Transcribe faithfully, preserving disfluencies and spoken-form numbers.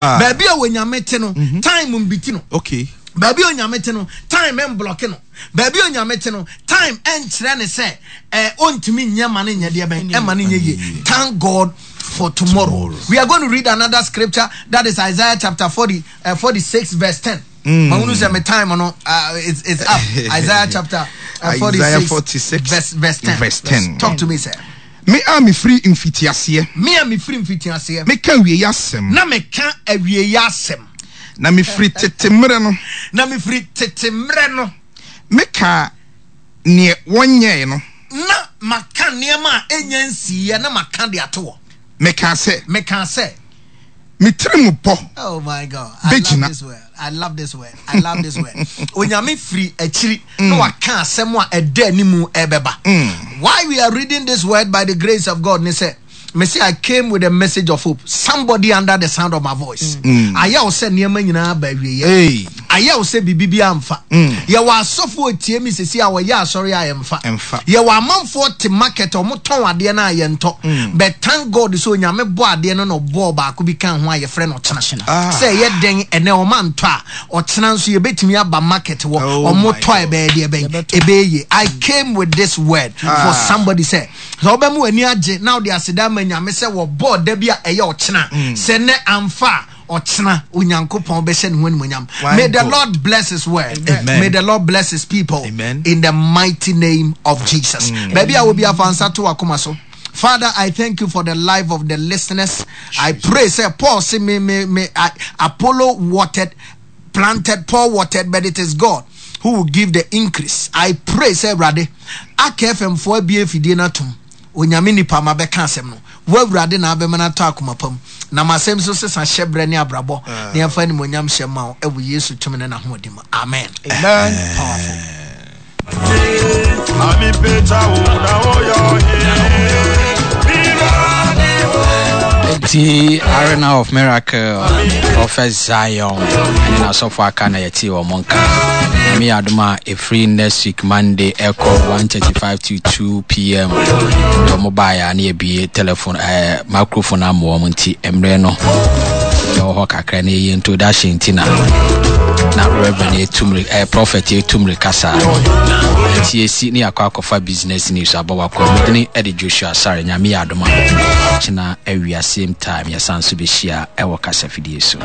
Baabi a Onyame te no, time mbiti no. Okay. Baabi a Onyame te no, time mblock no. Baabi a Onyame te no, time nkyerɛ ne sɛ eh, ɔntumi nyɛ ma no nyɛ deɛ bɛn, ɛma no nyɛ yie. Thank God for tomorrow. Tomorrow. We are going to read another scripture, that is Isaiah chapter forty, uh, forty-six verse ten. Mm. Mahunu sɛ me time no, uh, it's, it's up. Isaiah chapter uh, forty-six, Isaiah forty-six verse, verse ten. Verse ten. Talk to me, sir. Me a mefiri mfitiaseɛ. Me a mefiri mfitiaseɛ. Meka awieeɛ asɛm. Na meka awieeɛ asɛm. Na mefiri tete mmerɛ no. Na mefiri tete mmerɛ no. Meka neɛ wɔnyɛɛ no. Na maka nneɛma a ɛnya nsiiɛ na maka de ato hɔ. Meka sɛ. Meka sɛ. Me tiri mu pɔ. Oh my God. I love this word. I love this word. I love this word. Onyame firi akyiri na waka asɛm a ɛda anim ɛbɛba. Why we are reading this word by the grace of God, ne sɛ, me say I came with a message of hope. Somebody under the sound of my voice. Ayɛ wo sɛ nneɛma nyinaa ba awieeɛ. Hey. Ayɛ wo sɛ biribi bi amfa. Yɛwɔ asɔfoɔ tie mi sisi a wɔyɛ asɔre a yɛmfa. Ɛmfa. Yɛwɔ amanfoɔ te market a wɔtɔn adeɛ no a yɛntɔ. But thank God sɛ Onyame bɔ adeɛ no na ɔbɔɔ baako bi ka ho a yɛfrɛ no ɔkyena. Ah. Sɛ ɛyɛ den ɛnɛ ɔma ntɔ a, ɔkyena nso yɛbɛtumi aba market wɔ. Oh Ɔmo my tɔ God. ɛbɛyɛ deɛ bɛn. Ɛbɛyɛ yie. I came with this word for Ah. somebody sɛ, sɛ wobɛma w'ani agye na wode aseda ama Nyame sɛ wɔbɔɔ da bi a ɛyɛ ɔkyena. Sɛ nnɛ amfa a, ɔkyena Onyankopɔn bɛhyɛ ne ho animuonyam. Why May the God? Lord bless his word. Amen. May the Lord bless his people. Amen. In the mighty name of Jesus. Baabi a wobi afa nsa to wakoma so. Father, I thank you for the life of the listeners. I pray, say Paul, say me, me, me, I, Apollo watered, planted, Paul watered, but it is God who will give the increase. I pray, say, Rade, A K F M four B F D na tum. Onyame nipa ma bɛka asɛm no. Wo Awurade na abɛma no atɔ akoma pam. Na masɛm so sesa hyɛbrɛ ne abrabɔ. Ah. Ne ɛmfa animuonyam hyɛ ma wo ɛwɔ Yesu tumi ne n'ahoɔden mu. Amen. Amen. Powerful. The Arena of Miracle, Prophet Zion, and Asofo aka na yɛte wɔ mo nka. Me adoma a free next week Monday echo one thirty-five to two P M. The mobile na ye telephone, eh, microphone am wɔ mo nti emre no. Yɛ wɔ hɔ kakra na ye introduction nti na na Reverend etumri, eh, Prophet etumri kasa. Nti esi ne akɔ akɔfa business news abɔ wakɔ. Medini Eddie Joshua Asare Nyame adoma. China awia same time yɛsan so bɛhyia ɛwɔ kasa fidie so.